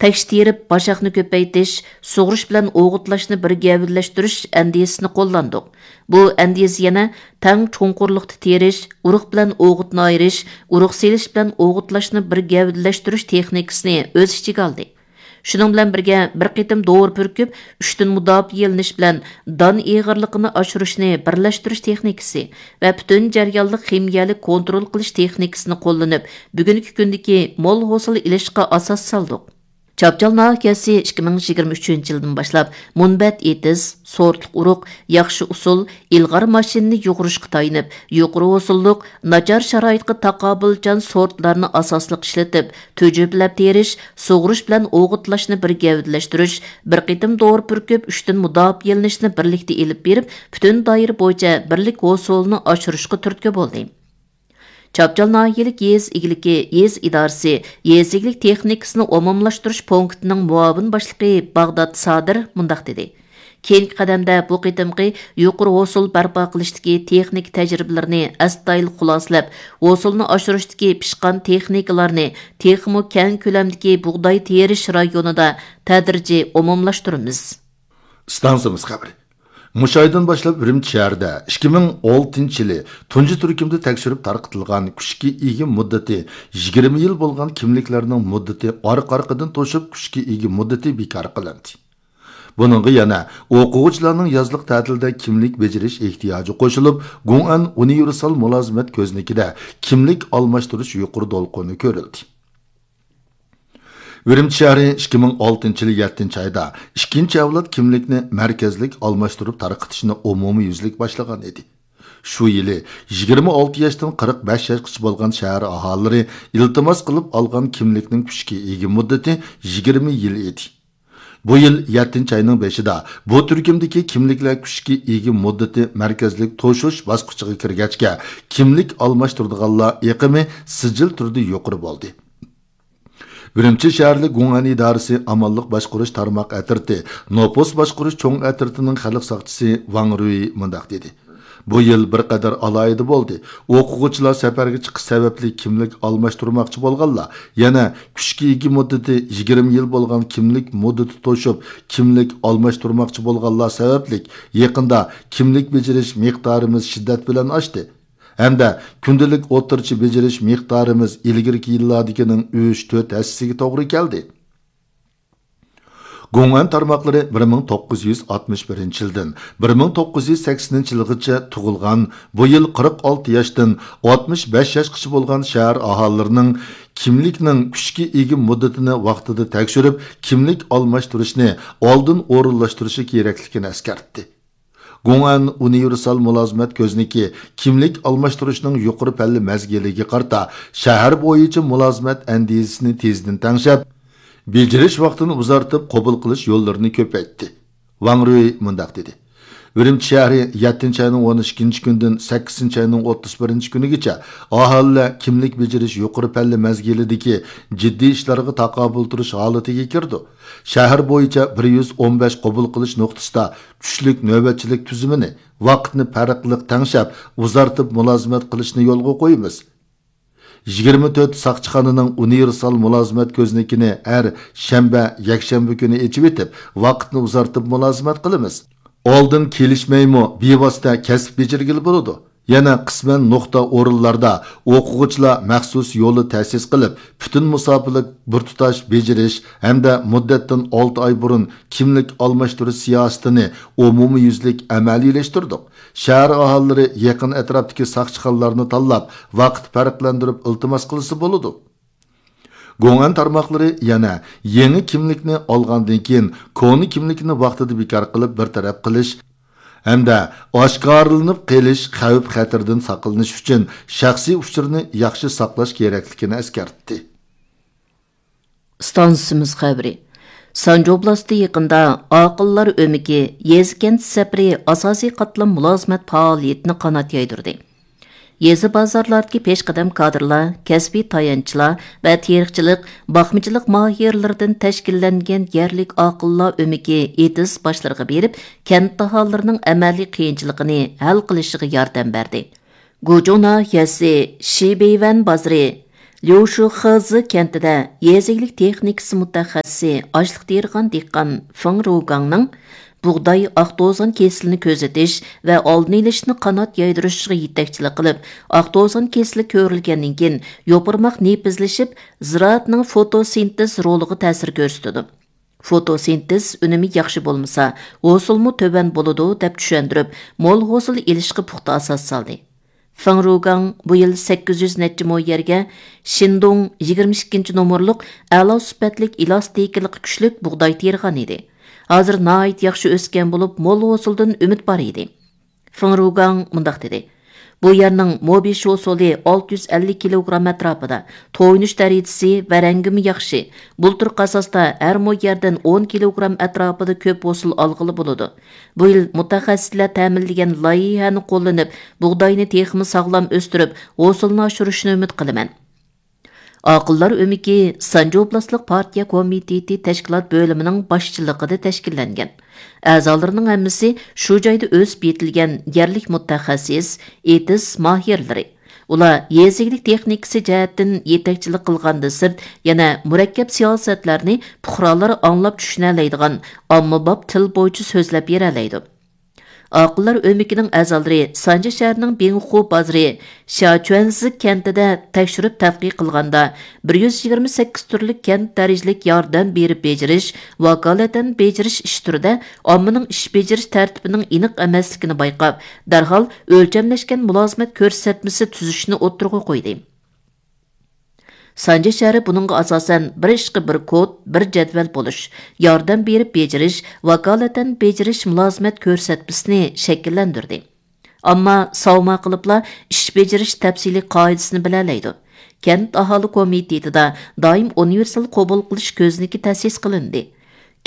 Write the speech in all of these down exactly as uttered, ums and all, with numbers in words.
تەكشى تېرىپ، باشاقنى كۆپەيتىش، سۇغۇرۇش بىلەن ئوغۇتلاشنى بىر گەۋدىلەشتۈرۈش ئەندىزىسىنى قوللاندۇق. بۇ ئەندىزە يەنە تەڭ چوڭقۇرلۇقتا تېرىش، ئۇرۇق بىلەن ئوغۇتنى ئايرىش، ئۇرۇق سېلىش بىلەن ئوغۇتلاشنى بىر گەۋدىلەشتۈرۈش تېخنىكىسىنى ئۆز ئىچىگە ئالدى. شۇنىڭ بىلەن بىرگە، بىر قېتىم دورا پۈركۈپ، ئۈچتىن مۇداپىئەلىنىش بىلەن دان ئېغىرلىقىنى ئاشۇرۇشنى بىرلەشتۈرۈش تېخنىكىسى ۋە پۈتۈن جەريانلىق خىمىيەلىك كونترول قىلىش تېخنىكىسىنى قوللىنىپ، بۈگۈنكى كۈندىكى مول ھوسۇل ئېلىشقا ئاساس سالدۇق. چاپچال ناھىيەسى ئىككى مىڭ يىگىرمە ئۈچىنچى يىلدىن باشلاپ مۇنبەت ئېتىز، سورتلۇق ئۇرۇق، ياخشى ئۇسۇل، ئىلغار ماشىنىنى يۇغۇرۇشقا تايىنىپ، يۇقىرى ھوسۇللۇق، ناچار شارائىتقا تاقابىلچان سورتلارنى ئاساسلىق ئىشلىتىپ، تۈجۈپىلەپ تېرىش، سۇغۇرۇش بىلەن ئوغۇتلاشنى بىر گەۋدىلەشتۈرۈش، بىر قېتىم دورا پۈركۈپ، ئۈچتىن مۇداپىئەلىنىشنى بىرلىكتە ئېلىپ بېرىپ، پۈتۈن دائىرە بويىچە بىرلىك ھوسۇلىنى ئاشۇرۇشقا تۈرتكە بولدى. چاپچال ناھىيەلىك يېزا ئىگىلىكى يېزا ئىدارىسى يېزا ئىگىلىك تېخنىكىسىنى ئومۇملاشتۇرۇش پونكىتىنىڭ مۇئاۋىن باشلىقى باغدات سادىر مۇنداق دېدى: كېيىنكى قەدەمدە بۇ قېتىمقى يۇقىرى ھوسۇل بەرپا قىلىشتىكى تېخنىكا تەجرىبىلىرىنى ئەستايىدىل خۇلاسىلەپ، ھوسۇلنى ئاشۇرۇشتىكى پىشقان تېخنىكىلارنى تېخىمۇ كەڭ كۆلەمدىكى بۇغداي تېرىش رايونىدا تەدرىجىي ئومۇملاشتۇرىمىز. ئىستانسىمىز خەۋىرى. مۇشۇ ئايدىن باشلاپ ئۈرۈمچى شەھىرىدە ئىككى مىڭ ئالتىنچى يىلى تۇنجى تۈركۈمدە تەكشۈرۈپ تارقىتىلغان كۈچكە ئىگە مۇددىتى يىگىرمە يىل بولغان كىملىكلەرنىڭ مۇددىتى ئارقا-ئارقىدىن توشۇپ، كۈچكە ئىگە مۇددىتى بىكار قىلىندى. بۇنىڭغا يەنە ئوقۇغۇچىلارنىڭ يازلىق تەتىلدە كىملىك بېجىرىش ئېھتىياجى قوشۇلۇپ، گۇڭئەن ئۇنىۋېرسال مۇلازىمەت كۆزنىكىدە كىملىك ئالماشتۇرۇش يۇقىرى دولقۇنى كۆرۈلدى. ئۈرۈمچى شەھىرى ئىككى مىڭ ئالتىنچى يىلى يەتتىنچى ئايدا ئىككىنچى ئەۋلاد كىملىكنى مەركەزلىك ئالماشتۇرۇپ تارقىتىشنى ئومۇميۈزلۈك باشلىغان ئىدى. شۇ يىلى يىگىرمە ئالتە ياشتىن قىرىق بەش ياشقىچە بولغان شەھەر ئاھالىلىرى ئىلتىماس قىلىپ ئالغان كىملىكنىڭ كۈچكە ئىگە مۇددىتى يىگىرمە يىل ئىدى. بۇ يىل يەتتىنچى ئاينىڭ بېشىدا بۇ تۈركۈمدىكى كىملىكلەر كۈچكە ئىگە مۇددىتى مەركەزلىك توشۇش باسقۇچىغا كىرگەچكە، كىملىك ئالماشتۇرىدىغانلار ئېقىمى سىجىل تۈردە يۇقىرى بولدى. ئۈرۈمچى شەھەرلىك گۇڭئەن ئىدارىسى ئامانلىق باشقۇرۇش تارماق ئەترىتى، نوپۇس باشقۇرۇش چوڭ ئەترىتىنىڭ خەلق ساقچىسى ۋاڭ رۈي مۇنداق دېدى: بۇ يىل بىر قەدەر ئالاھىدە بولدى. ئوقۇغۇچىلار سەپەرگە چىقىش سەۋەبلىك كىملىك ئالماشتۇرماقچى بولغانلار، يەنە كۈچكە ئىگە مۇددىتى يىگىرمە يىل بولغان كىملىك مۇددىتى توشۇپ، كىملىك ئالماشتۇرماقچى بولغانلار سەۋەبلىك يېقىندا كىملىك بېجىرىش مىقدارىمىز شىددەت بىلەن ئاشتى. ھەمدە كۈندىلىك ئوتتۇرىچە بېجىرىش مىقدارىمىز ئىلگىرىكى يىللاردىكىنىڭ ئۈچ، تۆت ھەسسىسىگە توغرا كەلدى. گۇڭئەن تارماقلىرى بىر مىڭ توققۇز يۈز ئاتمىش بىرىنچى يىلدىن بىر مىڭ توققۇز يۈز سەكسىنىنچى يىلغىچە تۇغۇلغان، بۇ يىل قىرىق ئالتە ياشتىن ئاتمىش بەش ياشقىچە بولغان شەھەر ئاھالىلىرىنىڭ كىملىكنىڭ كۈچكە ئىگە مۇددىتىنى ۋاقتىدا تەكشۈرۈپ، كىملىك ئالماشتۇرۇشنى ئالدىن ئورۇنلاشتۇرۇشى كېرەكلىكىنى ئەسكەرتتى. گۇڭئەن ئۇنىۋېرسال مۇلازىمەت كۆزنىكى كىملىك ئالماشتۇرۇشنىڭ يۇقىرى پەللە مەزگىلىگە قارىتا شەھەر بويىچە مۇلازىمەت ئەندىزىسىنى تېزدىن تەڭشەپ، بېجىرىش ۋاقتىنى ئۇزارتىپ، قوبۇل قىلىش يوللىرىنى كۆپەيتتى. ۋاڭ رۈي مۇنداق دېدى: ئۈرۈمچى شەھىرى يەتتىنچى ئاينىڭ ئون ئىككىنچى كۈنىدىن سەككىزىنچى ئاينىڭ ئوتتۇز بىرىنچى كۈنىگىچە ئاھالىلەر كىملىك بېجىرىش يۇقىرى پەللە مەزگىلىدىكى جىددىي ئىشلارغا تاقابىل تۇرۇش ھالىتىگە كىرىدۇ. شەھەر بويىچە بىر يۈز ئون بەش قوبۇل قىلىش نۇقتىسىدا چۈشلۈك نۆۋەتچىلىك تۈزۈمىنى ۋاقىتنى پەرقلىق تەڭشەپ، ئۇزارتىپ مۇلازىمەت قىلىشنى يولغا قويىمىز. يىگىرمە تۆت ساقچىخانىنىڭ ئۇنىۋېرسال مۇلازىمەت كۆزنىكىنى ھەر شەنبە، يەكشەنبە كۈنى ئېچىۋېتىپ، ۋاقىتنى ئۇزارتىپ مۇلازىمەت قىلىمىز. ئالدىن كېلىشمەيمۇ بىۋاسىتە كەسىپ بېجىرگىلى بولىدۇ. يەنە قىسمەن نۇقتا ئورۇنلاردا ئوقۇغۇچىلار مەخسۇس يولى تەسىس قىلىپ، پۈتۈن مۇساپىلىك بىر تۇتاش بېجىرىش ھەمدە مۇددەتتىن ئالتە ئاي بۇرۇن كىملىك ئالماشتۇرۇش سىياسىتىنى ئومۇميۈزلۈك ئەمەلىيلەشتۈردۇق. شەھەر ئاھالىلىرى يېقىن ئەتراپتىكى ساقچىخانىلارنى تاللاپ، ۋاقىت پەرقلەندۈرۈپ ئىلتىماس قىلسا بولىدۇ. گوڭئەن تارماقلىرى يەنە يېڭى كىملىكنى ئالغاندىن كېيىن، كونا كىملىكنى ۋاقتىدا بىكار قىلىپ بىر تەرەپ قىلىش ھەمدە ئاشكارىلىنىپ قېلىش خەۋپ-خەتىرىدىن ساقلىنىش ئۈچۈن شەخسىي ئۇچۇرنى ياخشى ساقلاش كېرەكلىكىنى ئەسكەرتتى. ئىستانسىمىز خەۋىرى. سانجى ئوبلاستى يېقىندا ئاقىللار ئۆمىكى يېزا-كەنت سەپىرى ئاساسىي قاتلام مۇلازىمەت پائالىيىتىنى قانات يايدۇردى. يېزا بازارلاردىكى پېشقەدەم كادىرلار، كەسپىي تايانچلار ۋە تېرىقچىلىق، باقمىچىلىق ماھىرلىرىدىن تەشكىللەنگەن يەرلىك ئاقىللار ئۆمىكى ئېتىز باشلىرىغا بېرىپ، كەنت ئاھالىلىرىنىڭ ئەمەلىي قىيىنچىلىقىنى ھەل قىلىشىغا ياردەم بەردى. گۇچۇڭ ناھىيەسى شىبېيۋەن بازىرى ليۇشۇخېزى كەنتىدە يېزا ئىگىلىك تېخنىكىسى مۇتەخەسسىسى، ئاشلىق تېرىغان دېھقان فېڭ رۇگاڭنىڭ بۇغداي ئاق توزان كېسىلىنى كۆزىتىش ۋە ئالدىنى ئېلىشنى قانات يايدۇرۇشىغا يېتەكچىلىك قىلىپ، ئاق توزان كېسىلى كۆرۈلگەندىن كېيىن يوپۇرماق نېپىزلىشىپ، زىرائەتنىڭ فوتوسىنتېز رولىغا تەسىر كۆرسىتىدۇ. فوتوسىنتېز ئۈنۈمى ياخشى بولمىسا، ھوسۇلمۇ تۆۋەن بولىدۇ، دەپ چۈشەندۈرۈپ، مول ھوسۇل ئېلىشقا پۇختا ئاساس سالدى. فېڭ رۇگاڭ بۇ يىل سەككىز يۈز نەچچە مو يەرگە شىندۇڭ يىگىرمە ئىككىنچى نومۇرلۇق ئەلا سۈپەتلىك ئېلاستىكىلىقى كۈچلۈك بۇغداي تېرىغان ئىدى. ھازىر ناھايىتى ياخشى ئۆسكەن بولۇپ، مول ھوسۇلدىن ئۈمىد بار ئىدى. فېڭ رۇگاڭ مۇنداق دېدى: بۇ يەرنىڭ مو بېشى ھوسۇلى ئالتە يۈز ئەللىك كىلوگرام ئەتراپىدا، تويۇنۇش دەرىجىسى ۋە رەڭگىمۇ ياخشى، بۇلتۇرقى ئاساستا ھەر مو يەردىن ئون كىلوگرام ئەتراپىدا كۆپ ھوسۇل ئالغىلى بولىدۇ. بۇ يىل مۇتەخەسسىسلەر تەمىنلىگەن لايىھەنى قوللىنىپ، بۇغداينى تېخىمۇ ساغلام ئۆستۈرۈپ، ھوسۇلنى ئاشۇرۇشنى ئۈمىد قىلىمەن. ئاقىللار ئۆمىكى سانجى ئوبلاستلىق پارتىيە كومىتېتى تەشكىلات بۆلۈمىنىڭ باشچىلىقىدا تەشكىللەنگەن. ئەزالىرىنىڭ ھەممىسى شۇ جايدا ئۆسۈپ يېتىلگەن يەرلىك مۇتەخەسسىس، ئېتىز ماھىرلىرى. ئۇلار يېزا ئىگىلىك تېخنىكىسى جەھەتتىن يېتەكچىلىك قىلغاندىن سىرت، يەنە مۇرەككەپ سىياسەتلەرنى پۇقرالار ئاڭلاپ چۈشىنەلەيدىغان ئاممىباب تىل بويىچە سۆزلەپ بېرەلەيدۇ. ئاقىللار ئۆمىكىنىڭ ئەزالىرى سانجى شەھىرىنىڭ بىڭخۇ بازىرى شياچۈەنزى كەنتىدە تەكشۈرۈپ تەتقىق قىلغاندا، بىر يۈز يىگىرمە سەككىز تۈرلۈك كەنت دەرىجىلىك ياردەم بېرىپ بېجىرىش، ۋاكالىتەن بېجىرىش ئىش تۈرىدە ئاممىنىڭ ئىش بېجىرىش تەرتىپىنىڭ ئېنىق ئەمەسلىكىنى بايقاپ، دەرھال ئۆلچەملەشكەن مۇلازىمەت كۆرسەتمىسى تۈزۈشنى ئوتتۇرىغا قويدى. سانجى شەھىرى بۇنىڭغا ئاساسەن بىر ئىشقا بىر كود، بىر جەدۋەل بولۇش، ياردەم بېرىپ بېجىرىش، ۋاكالىتەن بېجىرىش مۇلازىمەت كۆرسەتمىسىنى شەكىللەندۈردى. ئامما ساۋما قىلىپلا ئىش بېجىرىش تەپسىلىي قائىدىسىنى بىلەلەيدۇ. كەنت ئاھالە كومىتېتىدا دائىم ئۇنىۋېرسال قوبۇل قىلىش كۆزنىكى تەسىس قىلىندى.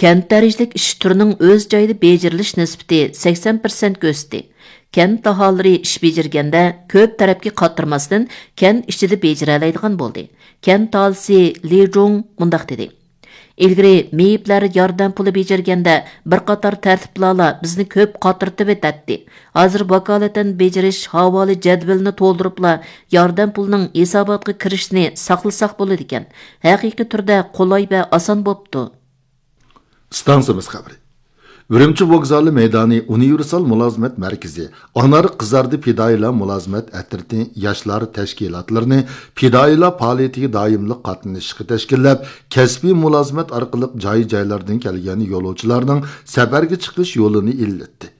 كەنت دەرىجىلىك ئىش تۈرىنىڭ ئۆز جايىدا بېجىرىلىش نىسبىتى سەكسەن پىرسەنت كۆرسىتى. كەنت ئاھالىلىرى ئىش بېجىرگەندە كۆپ تەرەپكە قاترىماستىن، كەنت ئىچىدە بېجىرەلەيدىغان بولدى. كەنت ئاھالىسى لى جۇڭ مۇنداق دېدى: ئىلگىرى مېيىپلەر ياردەم پۇلى بېجىرگەندە بىر قاتار تەرتىپلەرلا بىزنى كۆپ قاترىتىۋېتەتتى. ھازىر ۋاكالىتەن بېجىرىش ھاۋالە جەدۋىلىنى تولدۇرۇپلا ياردەم پۇلىنىڭ ھېساباتقا كىرىشىنى ساقلىساق بولىدىكەن. ھەقىقىي تۈردە قولاي ۋە ئاسان بوپتۇ. ئىستانسىمىز خەۋىرى. ئۈرۈمچى ۋوگزالى مەيدانى ئۇنىۋېرسال مۇلازىمەت مەركىزى، ئانار قىزاردى پىدائىيلار مۇلازىمەت ئەترىتى ياشلار تەشكىلاتلىرىنى پىدائىيلار پائالىيىتىگە دائىملىق قاتنىشىشقا تەشكىللەپ، كەسپىي مۇلازىمەت ئارقىلىق جاي-جايلاردىن كەلگەن يولۇچىلارنىڭ سەپەرگە چىقىش يولىنى ئىللىتتى.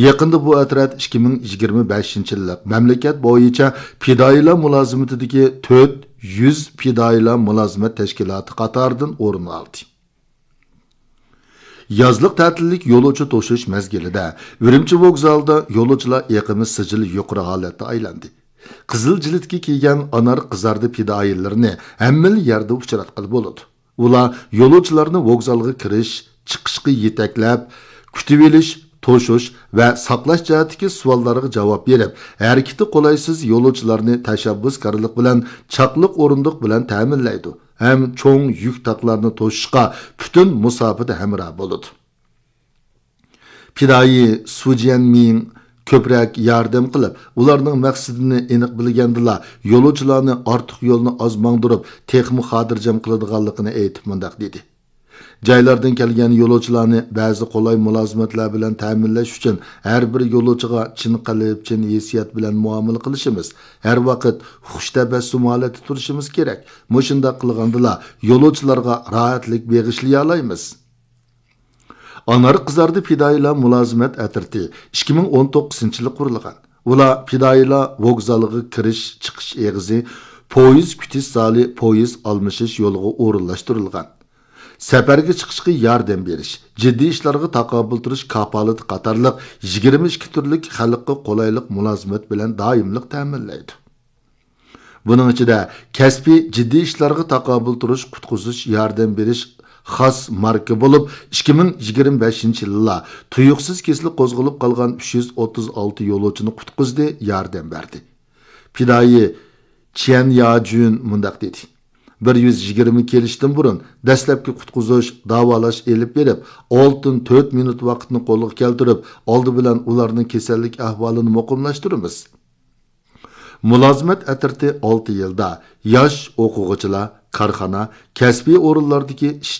يېقىندا بۇ ئەترەت ئىككى مىڭ يىگىرمە بەشىنچى يىللىق مەملىكەت بويىچە پىدائىيلار مۇلازىمىتىدىكى تۆت يۈز پىدائىيلار مۇلازىمەت تەشكىلاتى قاتارىدىن ئورۇن ئالدى. يازلىق تەتىللىك يولۇچى توشۇش مەزگىلىدە ئۈرۈمچى ۋوگزالىدا يولۇچىلار ئېقىمى سىجىل يۇقىرى ھالەتتە ئايلاندى. قىزىل جىلىتكە كىيگەن ئانار قىزاردى پىدائىيلىرىنى ھەممىلا يەردە ئۇچراتقىلى بولىدۇ. ئۇلار يولۇچىلارنى ۋوگزالغا كىرىش، چىقىشقا يېتەكلەپ، كۈتۈۋېلىش، توشۇش ۋە ساقلاش جەھەتتىكى سوئاللارغا جاۋاب بېرىپ، ھەرىكىتى قولايسىز يولۇچىلارنى تەشەببۇسكارلىق بىلەن چاقلىق ئورۇندۇق بىلەن تەمىنلەيدۇ ھەم چوڭ يۈك تاقلارنى توشۇشقا پۈتۈن مۇساپىدە ھەمراھ بولىدۇ. پىدائىي سۇ جيەنمىڭ كۆپرەك ياردەم قىلىپ، ئۇلارنىڭ مەقسىتىنى ئېنىق بىلگەندىلا، يولۇچىلارنى ئارتۇق يولنى ئاز ماڭدۇرۇپ، تېخىمۇ خاتىرجەم قىلىدىغانلىقىنى ئېيتىپ مۇنداق دېدى: جايلاردىن كەلگەن يولۇچىلارنى بەزى قولاي مۇلازىمەتلەر بىلەن تەمىنلەش ئۈچۈن ھەر بىر يولۇچىغا چىن قەلب، چىن ھېسسىيات بىلەن مۇئامىلە قىلىشىمىز، ھەر ۋاقىت خۇش تەبەسسۇم ھالەتتە تۇرۇشىمىز كېرەك. مۇشۇنداق قىلغاندىلا يولۇچىلارغا راھەتلىك بېغىشلىيالايمىز. ئانار قىزاردى پىدائىيلار مۇلازىمەت ئەترىتى ئىككى مىڭ ئون توققۇزىنچى يىلى قۇرۇلغان. ئۇلار پىدائىيلار ۋوگزالىغا كىرىش، چىقىش ئېغىزى، پويىز كۈتۈش زالى، پويىز ئالمىشىش يولىغا ئورۇنلاشتۇرۇلغان. سەپەرگە چىقىشقا ياردەم بېرىش، جىددىي ئىشلارغا تاقابىل تۇرۇش كاپالىتى قاتارلىق يىگىرمە ئىككى تۈرلۈك خەلققە قولايلىق مۇلازىمەت بىلەن دائىملىق تەمىنلەيدۇ. بۇنىڭ ئىچىدە كەسپىي جىددىي ئىشلارغا تاقابىل تۇرۇش، قۇتقۇزۇش، ياردەم بېرىش خاس ماركا بولۇپ، ئىككى مىڭ يىگىرمە بەشىنچى يىللا تۇيۇقسىز كېسىلى قوزغىلىپ قالغان ئۈچ يۈز ئوتتۇز ئالتە يولۇچىنى قۇتقۇزدى، ياردەم بەردى. پىدائىي چيەن ياجۈن مۇنداق دېدى: بىر يۈز يىگىرمە كېلىشتىن بۇرۇن دەسلەپكى قۇتقۇزۇش، داۋالاش ئېلىپ بېرىپ، ئالتىدىن تۆت مىنۇت ۋاقىتنى قولغا كەلتۈرۈپ، ئالدى بىلەن ئۇلارنىڭ كېسەللىك ئەھۋالىنى مۇقىملاشتۇرىمىز. مۇلازىمەت ئەترىتى ئالتە يىلدا ياش ئوقۇغۇچىلار، كارخانا، كەسپىي ئورۇنلاردىكى ئىش